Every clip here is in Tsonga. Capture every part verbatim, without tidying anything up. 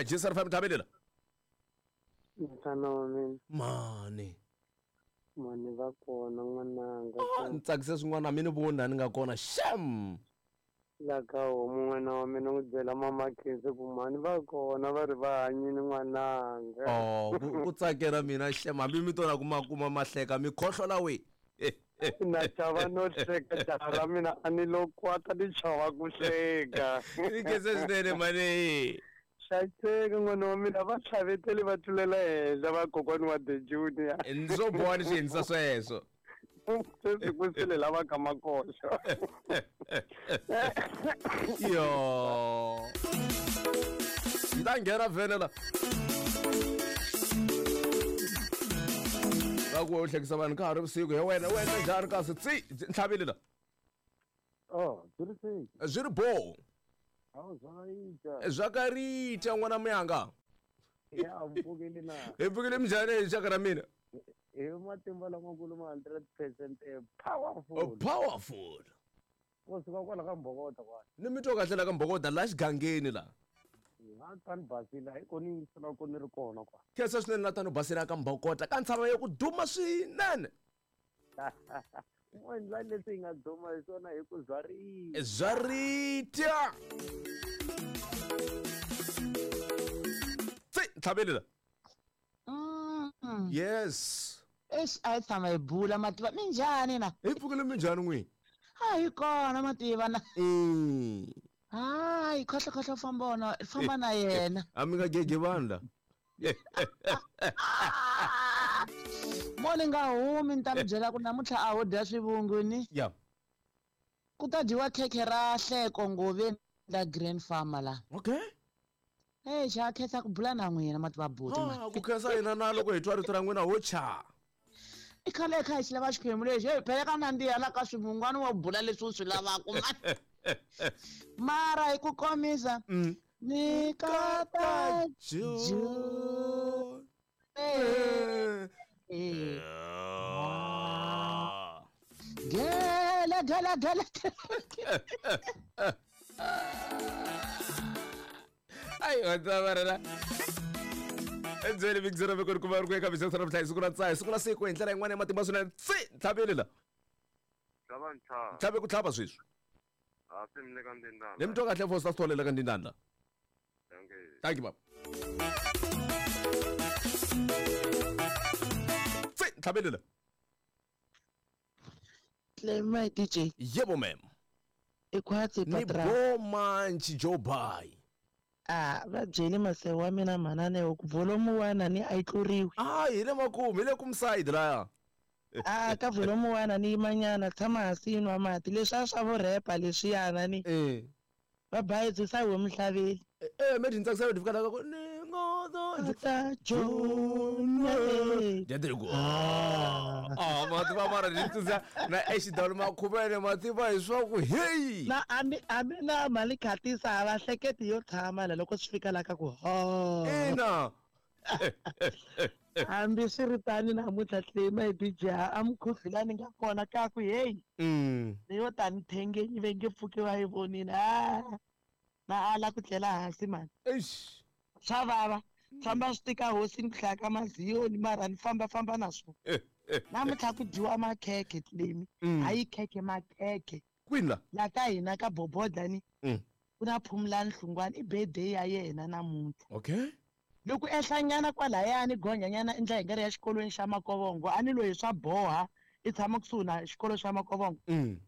Jisar fam thabelela. Mfana wa mina. Mani. Mani va kona n'wananga. Ah, ni tsakise swin'wana mina vona ni nga kona sham. La ka homu n'wana wa mina n'wi byela mama Khensi ku mhani va kona va ri va hanyini n'wananga. Oh, ku tsakela mina sham hambi mi tona kuma kuma mahleka mi khohlola we. Na chava no hleka jaha ra mina a ni lo kwata ni chava ku hleka. Ni khensa swinene mani. Hlayiseka n'wana wa mina va tlhaveteli va tlulela henhla va kokwani wa the junior. Ndzo boha ni swi endlisa sweswo. Sweswi ku sele lava ka makoxo. Yo. Ni ta nghena vhele la. Va ku u hlekisa vanhu ka ha ri vusiku he wena wena njhani kasi tsi ntlhavile la. Oh, byi ri sei. Byi ri bo. Awu zwakarita. Zwakarita n'wana muyanga. Ya mpfukile na. Hi pfukile minjhani hi xaka ra mina? Hi matimba lamakulu ma hundred percent powerful. Oh, powerful. Ku suka kwala ka Mbhokoda kwala. Ni mi twa kahle la ka Mbhokoda la xigangeni la. Ha tani basile hi kona yi sala ku ni ri kona kwa. Khensa swinene na tani basile ka Mbhokoda ka ntshava ya ku duma swinene. Mo endla leswi hi nga duma hi swona hi ku zwarita. Zwarita. Tsi ntlhavele la. Mm. Yes. Eish a hi tshama hi bula mativa minjhani na? Hi pfukile minjhani n'wini? A hi kona mativa na. Mm. Hayi khohlo khohlo famba wona famba na yena. A mi nga gege vanhu la. Mo ni nga humi ni ta mi byela ku namuntlha a ho dya swivungu ni. Yeah. Ku ta dyiwa khekhe ra hleko ngoveni la Grand Farmer la. Okay. Hey, xa khensa ku bula na n'wina mativa buti. Ah, ku khensa hina na loko hi twa rito ra n'wina ho cha. I khale kha hi xi lava xiphemu lexi hey phela ka nandziha la ka swivungwana wa bula leswi u swi lavaka mani. Mara hi ku komisa ni kata ju. Gela gela gela. Ai wa endzeni big zero vekori ku va ri ku eka bisesa ra vuhlayisi ku ra tsahi siku na siku hi ndlela yin'wana ya matimba swinene tsi ntlhavele la. Tlhava ntlhava. Tlhave ku tlhava sweswi. A swi mi le ka Ndindana. Ni mi twa kahle Foster Sithole le ka Ndindana. Thank you. Thank you baba. Tsi ntlhavele la. Clement D J. Yebo ma'am. I khwatsi Ni patra. bo manchi Joe Bai. Ah, va byeli mase wa mina mhanane ku volume one ni a yi tluriwi. Ah, hi le makumu, hi le kumside laya. Ah, ka volume one ni yimanyana tshama hansi yi nwa mati leswi a swa vo repa leswiyana ni. Eh. Va bayizisa hi mhlaveli. Eh, me ndzi tsakisa fika la ku ni ngo Ta Jona. Dya ku. Ah, mativa mara ni tsundza na exidalo makhuvele mativa hi swa ku hey. Na ami ami na mali khatisa va hleketi yo tshama la loko swi fika la ka ku ho. Ina. Hambi swi ri tani namuntlha Clement D J a mukhuhlula ni nga kona ka ku hey. Mm. Ni yo tani thengenyi ve nge pfuki va yi vonile. Ah. Na ala ku tlela hansi mani. Eish. Swa vava. Famba swi tika hosini ku hlaya ka maziyoni mara ni famba famba na swona. Namuntlha ku dyiwa makhekhe Clement. Hayi khekhe makhekhe. Kwini la? La ka hina ka Bobodla ni. Mm. Ku na Phumlani Hlungwani i birthday ya yena namuntlha. Okay. Loko ehlanyana kwalayani gonyanyana endla hi nkarhi ya xikolweni xa Makovongo a ni loyi swa boha i tshama kusuhi na xikolo xa Makovongo. Mm.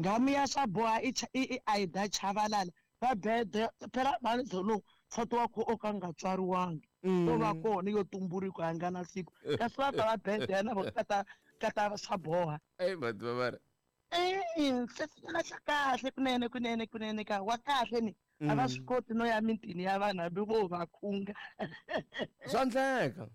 Nghamu ya swa boha i i Aida Chavalala va birthday phela mani lowu nsati wa ku o ka nga tswariwangi to va kona yo tumbuluka a nga na siku kasi va ta va birthday na vo kata kata swa boha. Ey mativa mara. Eh, sesinyana xa kahle kunene kunene kunene ka wa kahle ni. A va swi koti no ya mitini ya vanhu hambi vo va khunga. Swa endleka.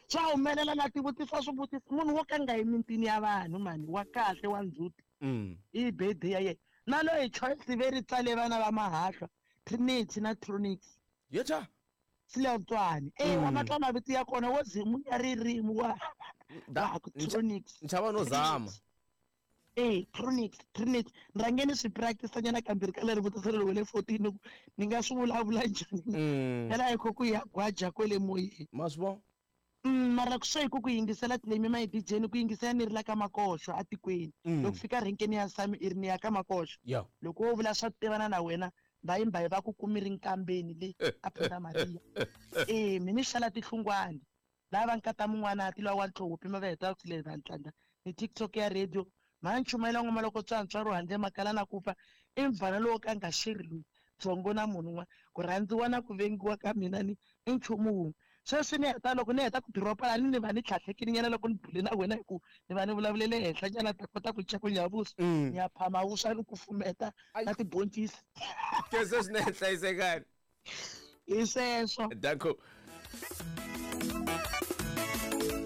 Swa humelela na tivutisa swivutiso munhu wo ka nga yi mitini ya vanhu mani wa kahle wa ndzhuti. Mm. I birthday ya yena. Na loyi Choice ve ri tsale vana va mahahlwa Trinity na Tronix. Yeta. Silawutswani. Eh wa matla mavito ya kona wo zimu ya ririmi wa wa Tronix. Nchava no zama. Eh Trinity Trinity ni rhange ni swi practice nyana kambirhi ka leri vutiso leri wele fourteen ku ni nga swi vulavula njhani Mm. phela hi kho ku ya gwaja kwele moyeni Ma swi vona? Mm, mara ku swe hi ku ku yingisela tilemi ma hi D J ni ku yingisela ni ri la ka Makoxo atikweni. Mm. Loko fika renkeni ya Sami i ri ni ya ka Makoxo. Ya. Loko wo vula swa tivana na wena mbayimbayi va ku kumi ri nkambeni le a Punda Maria. Eh mi ni xala tihlungwani lava nkata mun'wana ti lwa wa ntlhopi ma va heta ku le vantlanda ni TikTok ya radio ma nchumayela ngoma loko tswantswa ro handle makala na ku fa i mvana lowo ka nga xiri loyi dzongo na munhu un'wana ku rhandziwa na ku vengiwa ka mina ni i nchumu wun'we. Sweswi ni heta loko ni heta ku diropa la ni ni va ni tlhatlhekile nyana loko ni bule na wena hi ku ni va ni vulavulele henhla nyana ta kota ku cakunya vuswa. Mm. Ni ya phama vuswa ni kufumeta na tiboncisi. Khensa swinene, hlayisekani. Hi sweswo. Danko.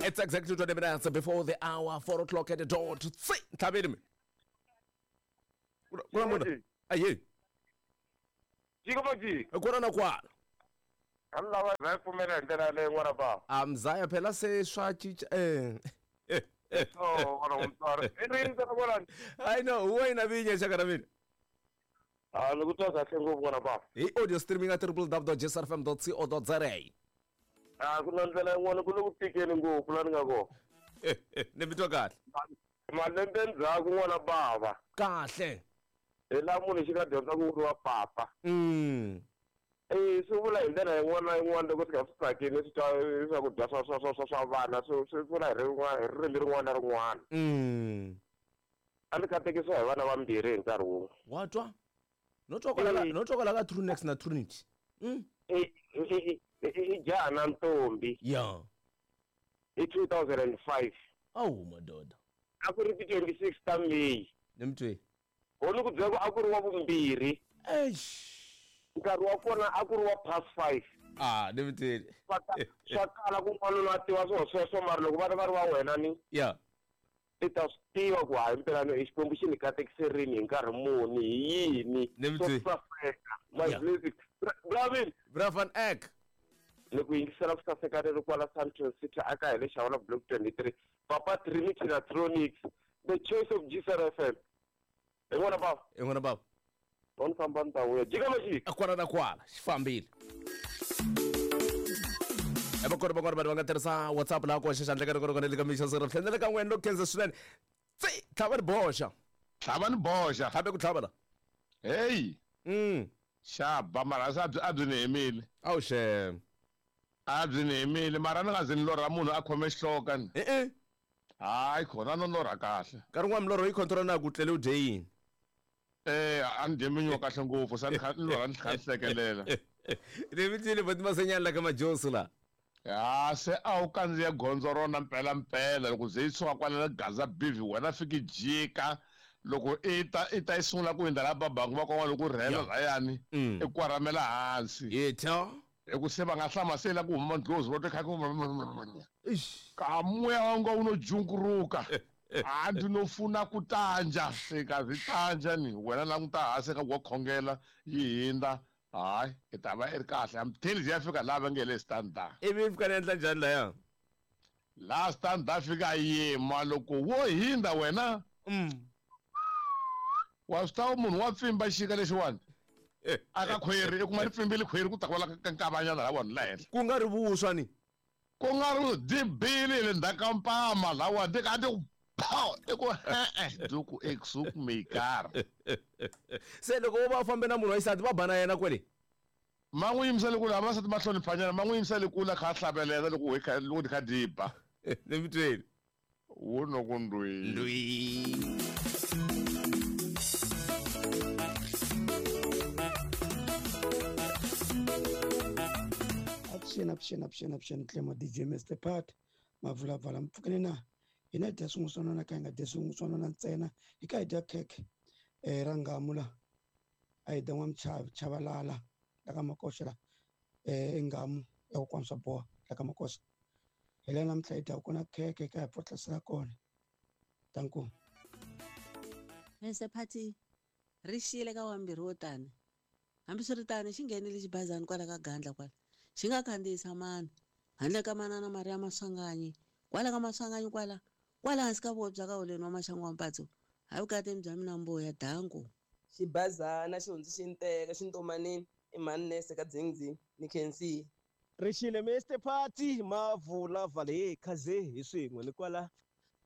It's exactly twenty minutes before the hour, four o'clock at the dot. Tsi, ntlhaveni mi. Kuna munhu. Aye. Jika majika. Kona na kwala. A ni lava va pfumela hi ndlela yaleyo n'wana bava. A mzaya phela se swa cinca eh. So n'wana wa mutswari. I rini ntsena kwalani? I know, wena vinya xaka ra mina. A ni ku twa kahle ngopfu n'wana bava. Hi audio streaming at w w w dot j s r f m dot co dot za. A ku na ndlela yin'wana ku le ku tikeni ngopfu laha ni nga kona. Ni mi twa kahle. Malembe ndzhaku n'wana bava. Kahle. Hi laha munhu xi nga dyondza ku vuriwa papa. Mm. Eh swi vula hi ndlela yin'wana na yin'wana loko swi kha swi tsakile swi twa swakudya swa swa swa swa swa vana swi swi vula hi rin'wana hi ririmi rin'wana na rin'wana. Mm. A ni katekisiwa hi vana vambirhi hi nkarhi wun'we. Wa twa? No twa kwala ka no twa kwala ka Trunex na Trinity. Mm. I i i i jaha na ntombi. Yeah. Hi two thousand and five. Awu madoda. A ku ri ti twenty-six ta May. Ni mi twe. Ho ni ku byela ku a ku ri wa vumbirhi. Eish. Nkarhi wa kona a ku ri wa past five. Ah, ni mi tweli. Swa swa kala ku n'wanuna a tiva swilo sweswo mara loko vana va ri va wena ni Yeah. i ta swi tiva ku hayi mpela i Xikwembu xi ni katekiserini hi nkarhi muni hi yini. Ni mi swo twi. saseka my Yeah. blessing Bravin. Bra van Eck. Ni ku yingisela ku saseka ri ri kwala Sandton City aka hi le Xawula Block twenty-three, Papa Trinity na Tronics, the choice of G S R F M. Hi n'wana bava. I n'wana bava. Va ni famba ni ta vuya jika majika. Kwala na kwala xi fambile. E va kona van'wana vanhu va nga tirhisa WhatsApp laha ku hoxa xandla ka rikona le ka mixa sirha tlhela ka n'wena loko khensa swinene. Tsi, tlhava ni boxa. Tlhava ni boxa. Tlhabe ku tlhava la. Hey. Mm. Xaba mara se a byi a byi ni hemile. Awu xem. A byi ni hemile mara ni nga zi ni lorha munhu a khome xihloka ni. Eh eh. Hayi khona no lorha kahle. Nkarhi wun'wana milorho yi control na ku tlele u dye yini. Eh a ni dye minyo kahle ngopfu se ni kha ni lorha ni kha ni hlekelela. Ni mi twile boti Masenyani la ka Majosi la. Ya se a wu kandziya gondzo rona mpela mpela loko ze yi suka kwala Gaza Bivi wena fiki jika loko i ta i ta yi sungula ku hundza la babangu va kon'wana loko rhela layani i kwaramela hansi. Yetha. Hi ku se va nga hlama se la ku huma ndlozi va twa kha ku ka moya wa nga wu no junguruka a ndzi no funa ku tanja se ka swi tanja ni wena languta hansi ka wa khongela yi hindza hayi i ta va i ri kahle I'm telling you ya fika laha va nge le standard. Ivi fika ni endla njhani laya? Laha standard fika yima loko wo hindza wena wa swi tiva munhu wa pfimba xika lexiwani aka khweri i kuma ri pfimbile khweri ku ta kwala ka nkavanyana la vanhu la henhla ku nga ri vuswa ni ku nga ri dibili le ndzhaku ka mpama lawa ndi ka ti ku pow i ku e-e ndi ku exuk mekar. Se loko wo va u fambe na munhu wa xisati va ba na yena kwele ma n'wi yimisa le kule vavasati ma hloniphanyana ma n'wi yimisa le kule a kha a hlavelela loko hi kha loko ti kha di ba. Ni mi tweli. Wu no ku ndwi. Ndwi. Avuxeni, avuxeni, avuxeni, avuxeni Clemo D J Mister Pat Mavulavala mpfukeni na hina hi dya swin'wana ka hi nga dyi swin'wana ntsena hi kha hi dya khekhe eh ra ngamu la a hi dya n'wamuchavi Chavalala la ka Makoxa la eh engamu ya kokwani swa boha la ka Makoxa hi la namuntlha hi dya kona khekhe ka hi pfotlasela kona danko. Mister Pati ri xiyile ka wambirhi wo tani hambiswiritano xi nghenile xibazana kwala ka Gandla kwala xi nga khandziyisa mani handle ka manana Maria Maswanganyi kwala ka Maswanganyi kwala kwala hansi ka vobya ka holeni wa Maxangu wa Mpatso Hayi vukatini bya mina mbuya danko. Xibazana xi hundzi xi nteka xintomanini i mhani nese ka dzingdzing ni khensi. Rixile Mister Party mavula vale khaze hi swin'we ni kwala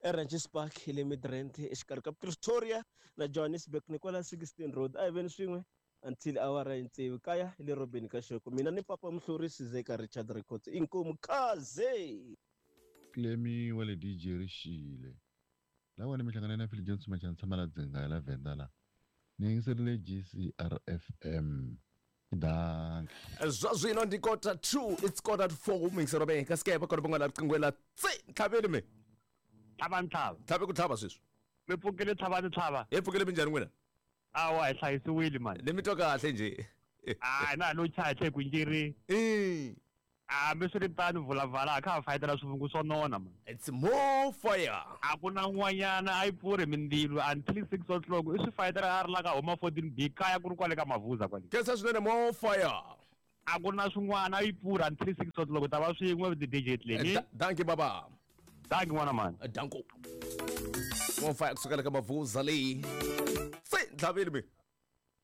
eRanches Park hi le Midrand exikarhi ka Pretoria na Johannesburg ni kwala sixteen Road a hi veni swin'we until awara ya tsevu kaya hi le Robeni ka Xoko mina ni papa Muhluri Sizeka Richard Records inkomu khaze. Clemi wa le D J Rixile lawa ni mihlangana na Phil Johnson Machana tshama la dzinga la Venda la ni yingiserile G C R F M. Dank. Zwa zwino ndi quarter two, it's quarter to four mixero be ka skepa kona bongala riqingwela tsi tlhaveli me. Tlhava ntlhava. Tlhave ku tlhava sweswi. Mi pfukile tlhava ni tlhava. Hi pfukile minjhani n'wina? Awa hi hlayisiwile mani. Ni mi twa kahle nje. Ah na no chache ku njiri. Eh. Ah miswiritano vulavala kha fayitela swivungu swo nona man. It's more fire. A ku na n'wanyana a yi pfurhi mindzilo until six o'clock i swi fayitela a ri la ka homa fourteen B kaya ku ri kwale ka Mavuza kwale. Khensa swinene more fire. A ku na swin'wana a yi pfurhi until six o'clock ta va swin'we with the D J Tleni. Danki baba. Danki n'wana man. Danko. More fire kusukela ka Mavuza leyi. Se ntlhaveli mi.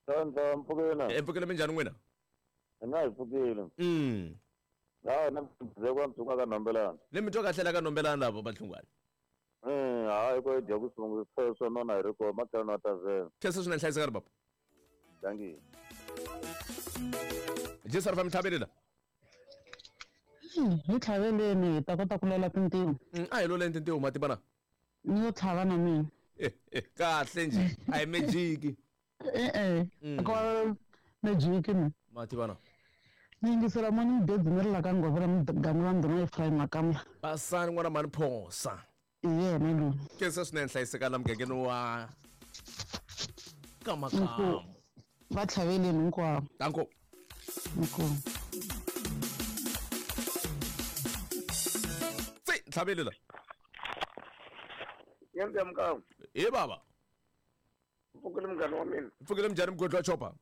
Tlhava mpfukile. E mpfukile minjhani n'wina? Ina hi pfukile. Mm. La na mdzeko mtsunga ka nombelana. Le mi twa kahle la ka nombelana lavo Bahlungwana. Eh hayi ko dya ku sungu swo nona hi ri ko matlhelo ta vela. Khensa swinene hlayiseka ri baba. Danki. Jesu ri fa mitlhaveli la. Hi tlhaveleni hi ta kota ku lola tintiho. A hi loleni tintiho mativa na. Ni yo tlhava na mina. Kahle nje a hi magic. E-e. Ko magic ni. Mativa na. Ni yingisela morning birds ni ri la ka Ngovela muganga wa ndhuna Ephraim Makamla. Basani n'wana mhani Phosa. I yena loyi. Khensa swinene hlayiseka la mugangeni wa ka Makamu. Va tlhaveleni hinkwavo. Danko. Inkomu. Tsi tlhaveli la. Yendza mkamu. He baba. Pfukile munghana wa mina. Pfukile minjhani mugodi wa chopa?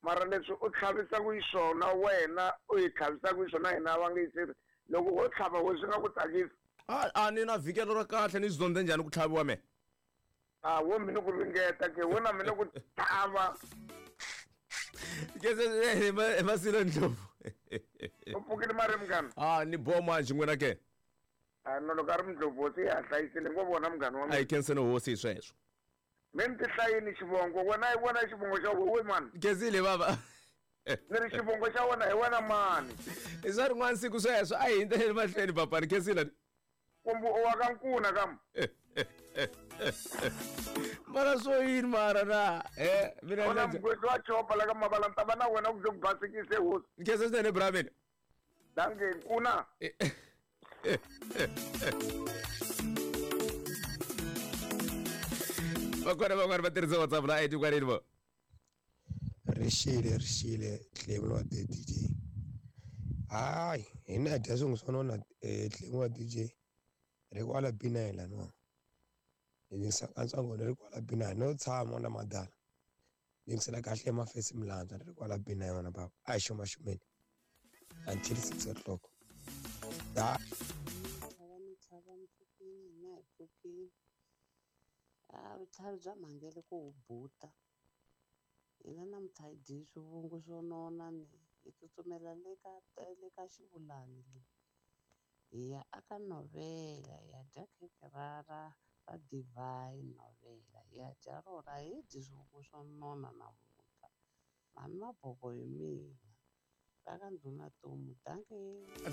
Mara leswi u tlhavisaka hi swona wena u hi tlhavisaka hi swona hina va nge yiseri loko wo tlhava wo swi nga ku tsakisi. A a ni na vhikelo ra kahle ni zondze njhani ku tlhaviwa me? A wo mina ku ringeta ke wena mina ku tlhava. Kese Masilo Ndlovu. U pfukile mari munghana? A ni boma nje n'wina ke. A no loko a ri Ndlovu hosi ya hlayisile ngo vona munghana wa mina. A yi khenseni hosi hi sweswo. Mi ni tihlayini xivongo wena hi vona xivongo xa wena mani. Khensile baba. Ni ri xivongo xa wena hi wena mani. I swa rin'wana siku sweswo a hi hindzeli mahlweni papa ni khensile. Kumbe u wa ka Nkuna kam. Mara swo yini mara na eh mina na mugwetsi wa chopa la ka Mavala ni ta va na wena ku ze ku basikise hosi. Khensa swinene bra mina. Danke Nkuna. Vakona van'wana va tirhisa WhatsApp la I D kwaleni vo. Rixile rixile Tlemi wa D J. Hayi hina hi dya swin'we swo nona Tlemi wa D J ri kwala B nine laniwa. Ni yingisela katsongo ni ri kwala B nine no tshama na madala. Ni yingisela kahle mafesi milandza ni ri kwala B nine n'wana baba. A hi xumaxumeni until six o'clock. Da. A vutlhari bya mhangele ku wu buta hina namuntlha hi dyi swivungu swo nona ni hi tsutsumela le ka le ka xivulani le hi ya aka novela hi ya dya khekhe ra ra ra divine novela hi ya dya rona hi dyi swivungu swo nona namuntlha mhani maboko hi mina ra ka ndhuna Tomu danke.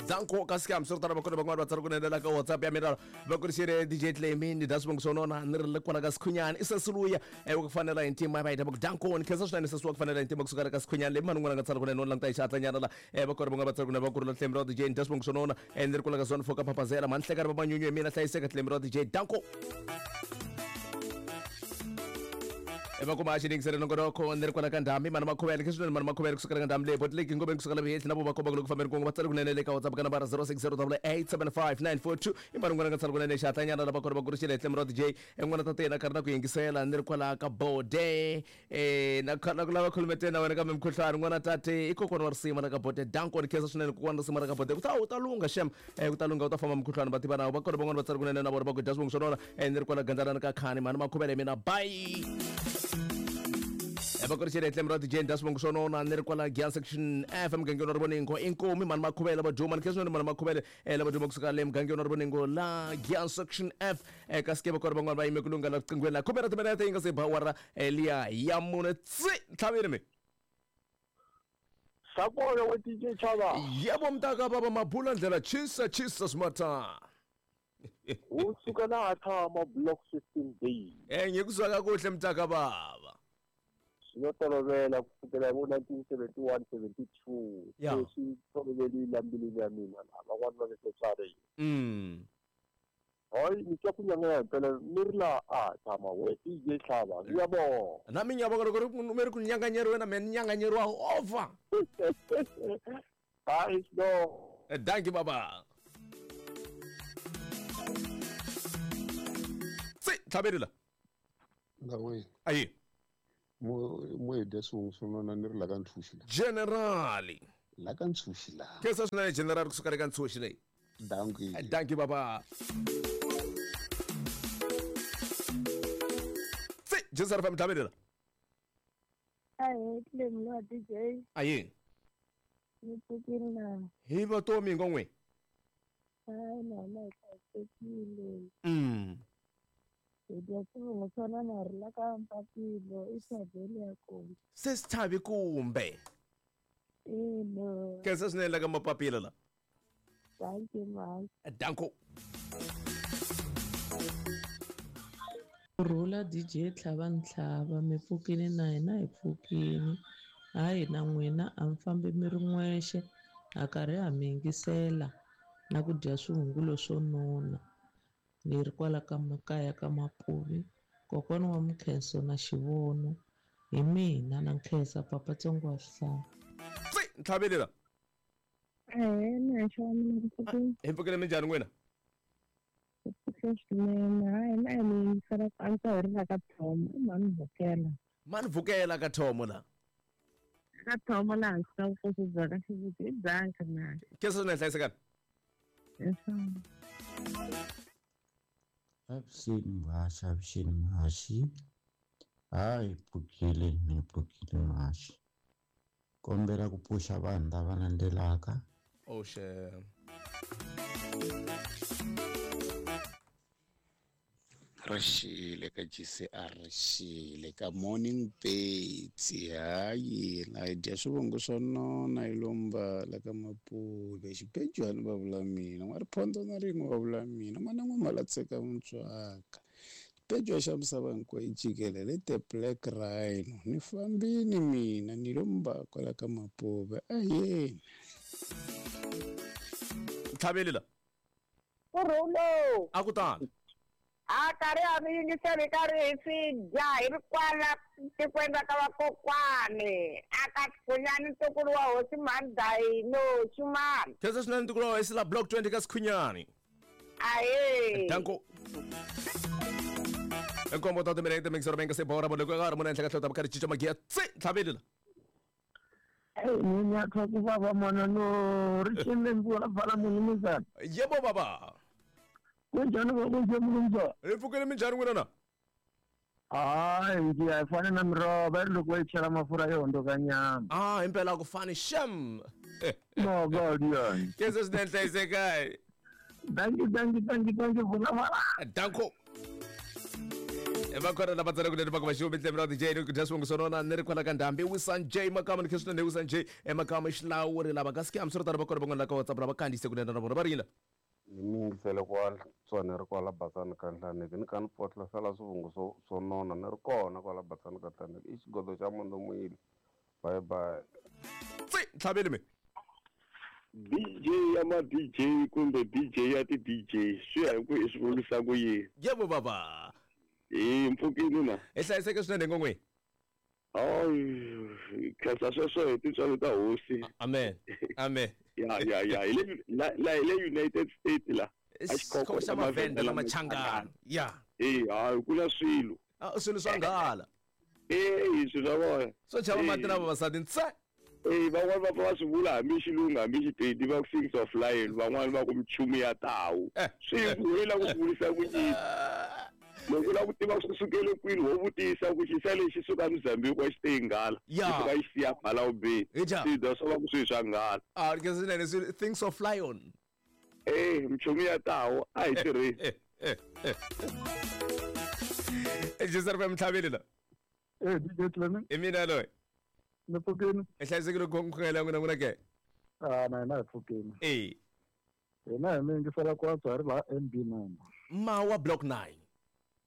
Danko ka scam swi ri tano vakona van'wana va tsala ku nendela ka WhatsApp ya mina va ku rixile D J Tlemi ni dya swivongo swo nona ni ri le kwala ka Sikhunyani i sesiluya wa ku fanela hi ntima va hita va ku danko ni khensa swinene sesi wa ku fanela hi ntima kusuka ka Sikhunyani leyi mani un'wana a nga tsala kunene no languta hi xihatlanyana la vakona van'wana va tsala kunene va ku rula Tlemi ra D J ni dya swivongo swo nona ni ri kwala ka zone four ka Phaphazela mhani hlekani va manyunyu hi mina hlayiseka Tlemi ra D J danko. Va kuma xi yingisele nongonoko ni ri kwala ka ndhambi mani makhuvele ke swinene mani makhuvele kusukela ka ndhambi leyi botleki ngomeni kusukela vihehli na vo vakomba loko fambeni kun'we va tsale kunene le ka WhatsApp ka nambara zero six zero double eight seven five nine four two i mani n'wana nga tsala kunene xatlanyana lava kona va kurixile hi tlhelo ra D J n'wana tatena karhi na ku yingisela ni ri kwala ka bode eh na na ku lava khulumeteni na wena kambe mukhuhlwani n'wana tate i kokwana wa risima la ka bode danko ni khensa swinene kokwana risima la ka bode ku ta u ta lungha xem eh ku ta lungha u ta famba mukhuhlwani va tiva na va kona van'wana va tsale kunene na vona va ku dya swivongo swa nona eh ni ri kwala gandzalana ka khani mani makhuvele mina bye. Evakorixile tlhelo ra D J nda swivongo swa nona ni ri kwala Gian section F mugangeni wa Rivoningo inkomi mani makhuvele va duma ni khensa swinene mani makhuvele eh lava duma kusuka le mugangeni wa Rivoningo la Gian section F eh kasi ke va kona van'wana va yime ku lungha la riqinghweni la khume ra timinete yi nga se ba awara liya ya mune tsi ntlhaveni mi Sakona we D J Chava. Yebo mntaka baba mabula ndlela chisa chisa smarta. Usuka na tshama block fifteen days. Eh ngikuzwa kakuhle mntaka baba. Sinotolovela kusukela ngo nineteen seventy-one seventy-two. Sesi tolovelile mbilwini ya mina lava va le tsareni. Mm. Hayi ni twa ku nyanganya phela ni ri la a tshama we D J Hlava ngiyabonga. Nami ngiyabonga loko ri mi ri ku nyanganyeriwe na mina ni nyanganyeriwa over. Hayi no. Thank you baba. Si tlhabelela. Ndawe. Ayi. Mo mo dya swivongo swo nona ni ri la ka Ntshuxi la. General. La ka Ntshuxi la. Khensa swinene general kusuka le ka Ntshuxi leyi. Dankie. Dankie baba. Si Joseph fa mthabelela. Ayi tlhelo la D J. Ayi. Ni pfukile na. Hi va tomi ngongwe. Hayi na na hlayisekile. Mm. Hi dya swivongo swa nona ri la ka Mpapilo i thaveni ya kona. Se swi thavi kumbe. Ina. Khensa swinene la ka Mapapila la. Thank you man. Danko. Rhula D J Tlhava Ntlhava mi pfukile na hina hi pfukile. Hayi na n'wina a mi fambi mi ri n'wexe ha karhi ha mi yingisela na ku dya swihungulo swo nona. Ni ri kwala ka makaya ka Mapuvi kokwana wa Mkhenso na Xivono hi mina na Nkhensa papa tsongo wa swihlahla. Si ntlhavelela. Eh na xo mina ku pfukile. Hi pfukile minjhani n'wina? Swinene hayi na mi yingisela ku antswa hi ri la ka Thomo i mhani vhukela. Mhani vhukela ka Thomo la. Ka Thomo laha hansi ka vukosi bya ka Xiviti i bangi na. Khensa swinene hlayisekani. Leswaku. Avuxeni muhaxi avuxeni muhaxi hayi pfukile ni pfukile muhaxi kombela ku pfuxa vanhu lava landzelaka. Oh shit. Rixile ka G C R rixile ka Morning Birds hayi la hi dya swivongo swa nona hi lomba la ka Mapuve xibejwani va vula mina n'wa riphondzo na rin'we va vula mina n'wana n'we malatseka mutswaka xibejwa xa misava hinkwayo jikelele the black rhino ni fambini mina ni lomba kwala ka Mapuve aheni. Ntlhavelela. Kurhulo. A ku tani. A karhi a mi yingiseli karhi hi swi dya hi ri kwala tikweni ra ka vakokwani a ka Sikhunyani ntukulu wa hosi Mhandayino Xumani. Khensa swinene ntukulu wa hosi la block twenty ka Sikhunyani. Ahee. Danko. Nkombo ta timinete mixer benga se bora boleko ka re mona enhla ka hlota bakari chicha magia tsi ntlhavelela. Ni nyatwa ku vava mwana no ri xile mvula vala munumuzana. Yebo baba. Kunjani kunje mnumzana? Hi pfukile minjhani n'wina na? Hayi ngiyafana na miroho va ri loko va yi chela mafurha yo hundzuka nyama. Ah impela ku fani shem. No god yona. Khensa swinene hlayisekani. Thank you thank you thank you thank you vula. Danko. Va kona lava tsala kunene va ku va xivo mitlhelo ra D J ku dya swivongo swo nona ni ri kwala ka ndhambi Wisan J Makama ni khensa swinene Wisan J Makama xilawuri lava kasi ke hambiswiritano va kona van'wana la ka WhatsApp lava kandziyise kunene na vona va ringile. Ni mi yingisele kwala tswana ri kwala Batsani ka Nhlaneki ni kha ni pfotlasela swivongo swo swo nona ni ri kona kwala Batsani ka Nhlaneki i xigodo xa Mundomile bye bye. Si ntlhaveli mi. D J ya ma D J kumbe D J ya ti D J swi ya hi ku i swi vulisa ku yini. Yebo baba. Hi mpfukile na. Hi hlayiseke swinene ngongwe. Hayi, khensa sweswo hi tintswalo ta hosi. Amen. Amen. Ya ya ya, hi le la la hi le United States la. A xikhoko xa mavhenda na machangana. Ya. Eh, hayi ku na swilo. Ah, swilo swa nghala. Eh, swilo swa vona. Swo chava mati na vavasati ntse. Eh, van'wani va pfa va swi vula hambi xilungu hambi xipedi va ku things of lion, van'wani va ku michumu ya tawu. Swi hi la ku swi vurisa ku yini. Loko u lava ku tiva swi sukele kwini wo vutisa ku xisa lexi suka Mozambique wa xi te nghala. Xi suka xi siya Malawi. Swi swa va ku swi swa nghala. Ah, ke swinene swi things of lion. Eh, michumu ya tawu a hi tirhisi. Jisar fa mtlhabeli la. Eh, D J Clement. I mina loyi. Ni pfukini. I hlayisekile ku khongela n'wina n'wina ke? Ah, na hina hi pfukini. Eh. Hina hi mi yingisela ku antswa hi ri laha M B nine. Mawa block nine.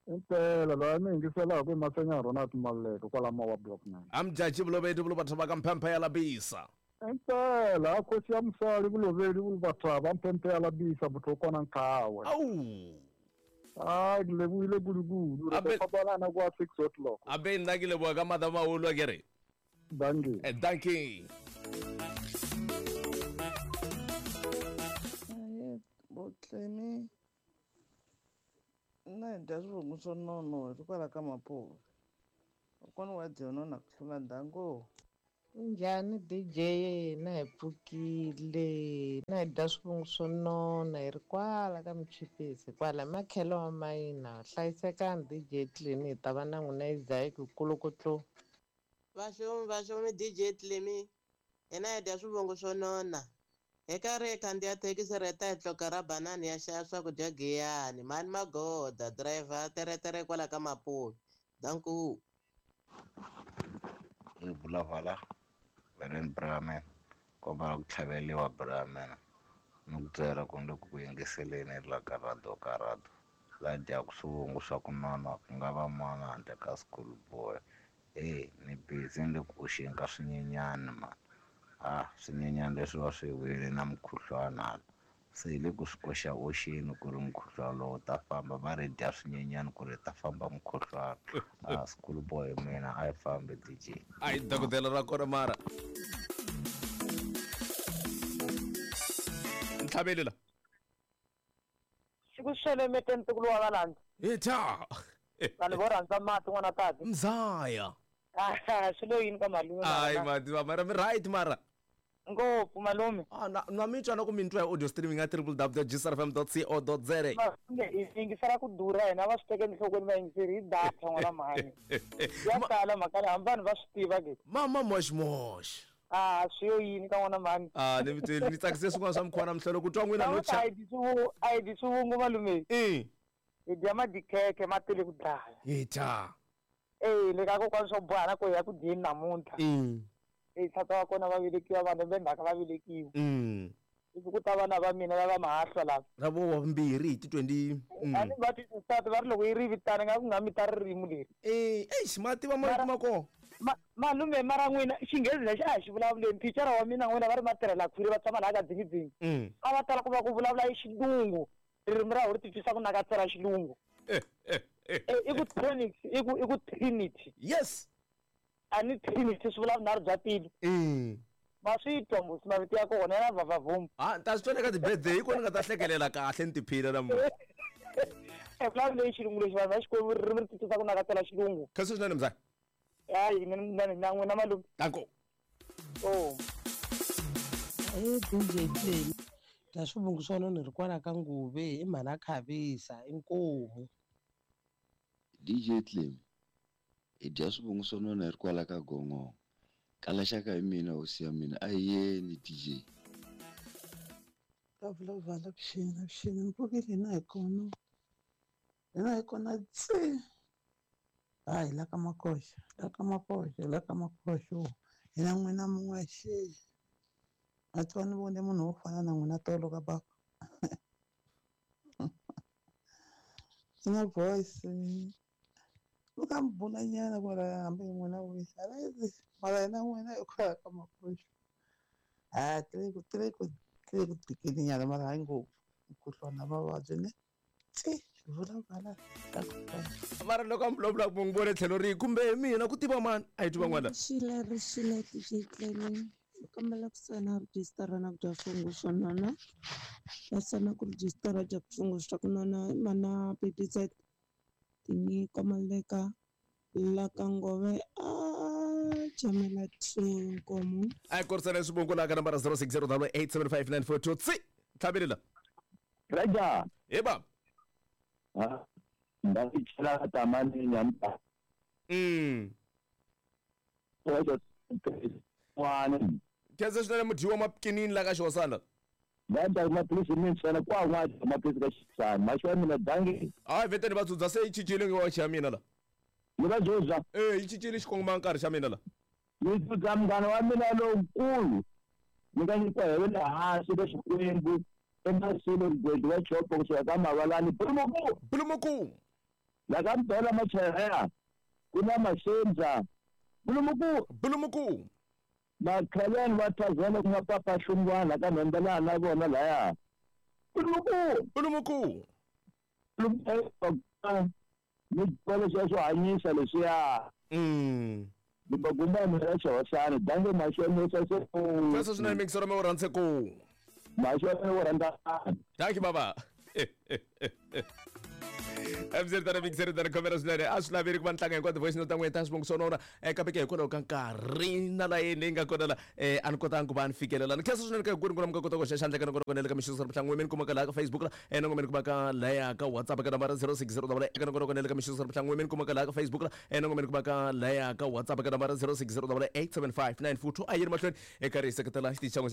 Impela loyi mi yingiselaka i Masenya Ronald Maluleke kwala Mawa block nine. Amjaji vulovedi vulo batho ba ka mphemphe ya labisa. Impela a khosi ya musali vulovedi vulo batho ba mphemphe ya labisa motho o kona nkhawe. Awu. Ah, ke lebohile kudu-kudu. Re tlo fapana kwa six o'clock. Abe nna ke leboha ka madamaholo a ke re. Dankie. Eh, dankie. Aye, botlemi. Nna hi dya swivungu swo nonoha hikwalaho ka Mapuve. Kokwana wa dyona na ku hlula ndyangu. Njhani D J na hi pfukile na hi dya swivungu swo nona hi ri kwala ka Michipisi kwala makhelo wa mayina hlayisekani D J Clemi hi ta va na n'wina Isaac kulukutlu. Vaxomi vaxomi D J Clemi hina hi dya swivungu swo nona hi karhi hi khandziya thekisi ri ta hi tloka ra banani ya xava swakudya Giyani mani magoda driver teretere kwala ka Mapuve danku. I vulavala veren Brahman kombela ku tlhaveliwa Brahman ni ku byela ku ni ku yingiseleni la ka radio ka radio la dyaku swivungu swa ku nona ku nga va mana handle ka school boy. Eh, ni busy ni le ku oxeni ka swinyenyani mani. Ah, swinyenyani leswi va swi wile na mukhuhlwana hala se hi le ku swi koxa oxeni ku ri mukhuhlwana lowu ta famba va ri dya swinyenyani ku ri ta famba mukhuhlwana. Ah, school boy mina a yi fambi D J. Ayi dokodela ra kona mara. Ntlhabeli la. Siku xelemete ntukulu wa valandza. Ita. Vanhu vo rhandza mati n'wana tati. Mzaya. Ah, swi lo yini ka malume. Ayi mati mara mi right mara. Ngopfu malume. Ah, na na mi twa na ku mi twa hi audio streaming at w w w dot g s r f m dot co dot z a. Malume hi yingisela ku durha hina va swi teke enhlokweni va yingiseri hi data n'wana mhani. Ya tala mhaka leyi hambi vanhu va swi tiva ke. Mama mosh mosh. Ah, swi yo yini ka n'wana mhani. Ah, ni mi ni tsakise swin'wana swa mukhuva na mhlolo ku twa n'wina no cha. A hi a hi dyi swivungu malume. Eh. Hi dya madikhekhe ma tele ku dlaya. Ita. Eh, le ka kokwana swo boha na ku ya ku dyeni namuntlha. Mm. Eh, tata wa kona va velekiwa vanhu va ndzhaku va velekiwa. Mm. Ivi ku ta vana va mina lava mahahlwa lava. Ra vo wa vumbirhi hi ti twenty. A ni va twisisa va ri loko yi ri vitana nga ku nga mi ta ririmi leri. Eh, eish ma tiva ma ma kona. Ma malume mara n'wina xinghezi lexi a hi xi vulavuleni thicara wa mina n'wina va ri matirhela khwiri va tshama laha ka dzingidzingi. Mm. A va tala ku va ku vulavula hi xilungu. Ririmi ra ho ri titwisa ku nakatsela xilungu. Eh eh eh. I ku tonics, i ku i ku trinity. Yes. A ni trinity swi vula vunharhu bya tilo. Mm. Ma swi twa mos mavito ya kona ya vavavum. Ah, ta swi twa eka ti-birthday hi kona ni nga ta hlekelela kahle ni tiphina namuntlha. E vulavula xilungu lexi vanhu va Xikwembu ririmi ri titwisa ku nakatsela xilungu. Kha swinene mzaya. Hayi na na n'wina malume. Danko. Oh. Eh D J Clemi. Dya swivungu swa nona ri kwala ka Nguve i mhana Khavisa inkomu. D J Clemi. Hi dya swivungu swa nona hi ri kwala ka Gongongo. Kala xaka hi mina hosi ya mina a hi yeni D J. Ka vulavula vuxeni vuxeni ni pfukile hina hi kona. Hina hi kona tsi. Hayi la ka Makoxa, la ka Makoxa, la ka Makoxa. Hina n'wina mun'we xe. A twa ni vone munhu wo fana na n'wina tolo ka baba. Ina voice. Luka mbona nyana kwala hambi n'wina wisa. Mara hina n'wina hi kwala ka Makoxa. Ah, tele ku tele ku tele ku tikeli nyana mara hayi ngopfu. Mukhuhlwana mavabyi ne. Tsi. Xivulavula mara loko a mi vulavula ku n'wi vone tlhelo rihi kumbe mina ku tiva mani a hi twi van'wana Rixile rixile D J Clemi kombela ku sayina rejistara na ku dya swivungu swo nona va sayina ku rejistara dya swivungu swa ku nona mana B D Z tinyiko maleka la ka ngove a jamela two nkomo. A hi korisana swivungu laha ka nambara zero six zero eight seven five nine four two tsi tlhaveli la. Raja. Hi baba. Ha nda chela tamani nyamba. Mm wana. Khensa swinene mudyiwa mapkinini la ka xihosana. Vanda maphilisi mintsena kwa n'wa maphilisi ka xisana maxi wa mina dangi. Hayi veteni va dzudza se yi cincile nge wachi ya mina la. Ni va dzudza. E yi cincile xikongoma nkarhi xa mina la. Ni dzudza munghana wa mina lowukulu ni nga nyikiwa hi le hansi ka Xikwembu emasilo mugwedi wa chopo kusuka ka Mavalani Bulumuku. Bulumuku. La ka Mbela Machereya ku na Maxendza Bulumuku. Bulumuku. Makhaleni va Thazela ku nga Papa Hlungwana ka Nhembelana na vona laya Bulumuku. Bulumuku. Ni xikolo xa swo hanyisa leswiya. Mm ni bagumba mina xihosani dange maxonisa se. Khensa swinene mixero mi wu rhandze ku. Maxonisa wu rhandza. Thank you baba. Mzeri mixeri tani khomera swinene a swi laveli ku va ni tlanga hinkwato voice note ta n'wina ta swivongo swo nona um kambe ke hikwalaho ka nkarhi na layeni leyi nga kona la um a ni kotanga ku va ni fikelela ni khensa swinene ka hinkwenu ku na mi nga kota ku hoxa xandla ka nongonoko le ka mixo mihlangu mi ni kumaka laha ka Facebook la um nongo mi ni kumaka laya ka WhatsApp ka nambara zero six zero ka nongonoko le ka mixo mihlangu mi ni kumaka laha ka Facebook la um nongo mi ni kumaka laya ka WhatsApp ka nambara zero six zero eight seven five nine four two. A yi ri mahlweni eka ri hi seketela xitichi xa n'we xa.